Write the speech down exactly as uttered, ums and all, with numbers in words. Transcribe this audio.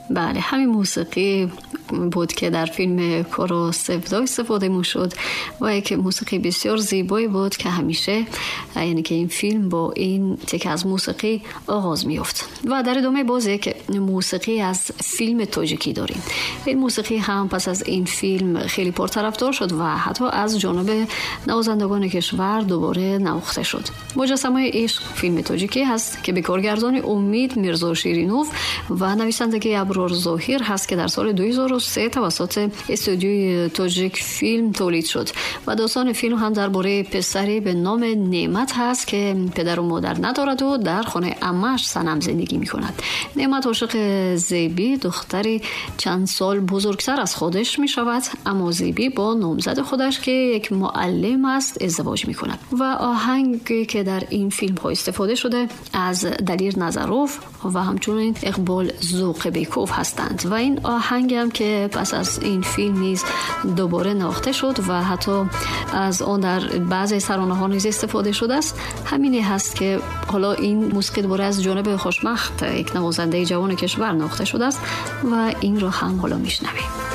بله، همین موسیقی بود که در فیلم کورو سفدا استفاده می‌شد و یک موسیقی بسیار زیبایی بود که همیشه یعنی که این فیلم با این تک از موسیقی آغاز می‌یافت. و در ادامه باز یک موسیقی از فیلم تاجیکی داریم. این موسیقی هم پس از این فیلم خیلی پرطرفدار شد و حتی از جانب نوازندگان کشور دوباره نواخته شد. مجسمه عشق فیلم تاجیکی هست که به کارگردانی امید میرزا شیرینوف و نویسندگی ابرار ظاهر هست که در سال دو هزار و سه توسط استودیوی تاجیک فیلم تولید شد و داستان فیلم هم درباره پسری به نام نعمت هست که پدر و مادر ندارد و در خانه عمه‌اش صنم زندگی می‌کند. نعمت عاشق زیبی، دختری چند سال بزرگتر از خودش می‌شود، اما زیبی با نامزد خودش که یک معلم است ازدواج می‌کند. و آهنگی که در این فیلم ها استفاده شده از دلیر نظروف و همچنین اقبال ذوقبیکوف هستند و این آهنگ هم که پس از این فیلم نیز دوباره نواخته شد و حتی از آن در بعضی سرانه ها نیز استفاده شده است. همینی هست که حالا این موسیقی دوباره از جانب خوشبخت، یک نوازنده جوان کشور، نواخته شده است و این را هم حالا میشنویم.